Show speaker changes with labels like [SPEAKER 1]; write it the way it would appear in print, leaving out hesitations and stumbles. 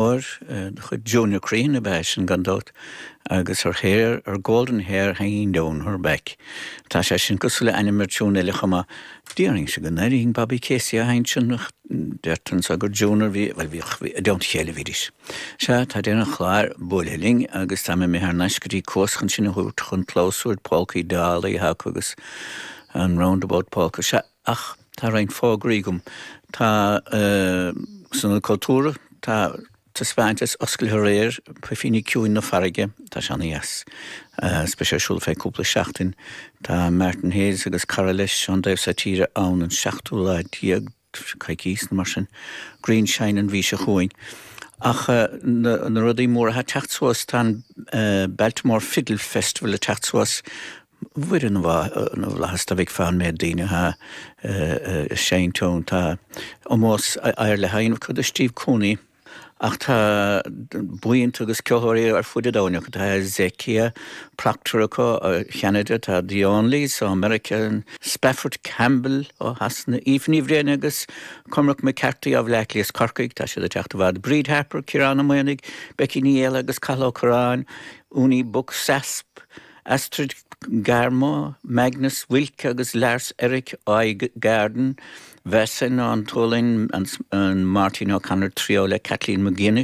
[SPEAKER 1] De chuid Junior Crehan ab ea é sin gan dabht, agus her hair, her golden hair hanging down her back. Tá sé sin cosúil le ainm ar tiún eile chomh maith. Déarfainnse go n-airínn Bobby Casey á sheinnt sin ach deirtear anseo gur Junior a bhí, bhuel bhíodh, i dteannta a chéile a bhídís. Sea, tá deireadh an chláir buailthe linn agus tá mé imithe thar n-ais go dtí Cuas chun sinn a thabhairt chun clabhsúir Polcaí Dálaí atá acu agus an Roundabout Polka. Sea, Ach tá roinnt fógraí agam. Tá san Ionad Cultúrtha, tá taispeántas oscailte aréir, Puifíní Ciúin na Farraige, tá sé ana-dheas. Is beidh sé ar siúl feadh cúpla seachtain. Tá Martin Hayes agus cara leis ón dtaobh seo tíre ann an seachtú lá déag, coicís nó mar sin. Greenshine an mhí seo chugainn. Ach na rudaí móra atá ag teacht suas, tá an Baltimore Fiddle Festival ag teacht suas. Mhuire na bhFlaitheas dá bhfeicfeá an méid daoine atá ag seinnt ann. Tá ómós ar leith á dhéanamh acu do Steve Cooney ach tá buíonta agus ceoltóirí ar fud an domhain acu. Tá Hezekiah Proctor acu ó Cheanada, tá The Onlys ó Meiriceá, Spafford Campbell ó Shasana, Aoife Ní Bhriain agus Cormac McCarthy ó Bhleá Cliath is Corcaigh, tá siad ag teacht i bhfad, Bríd Harper, Ciarán Ó Maonaigh, Becky Ní Fhaola agus Cathal Ó Curráin, Uni Buksasp, Astrid Garmo, Magnus Wilk agus Lars Erik Øygarden, Väsen ón tSualainn, an Martin O'Connor Trio le Kathleen McGuinness.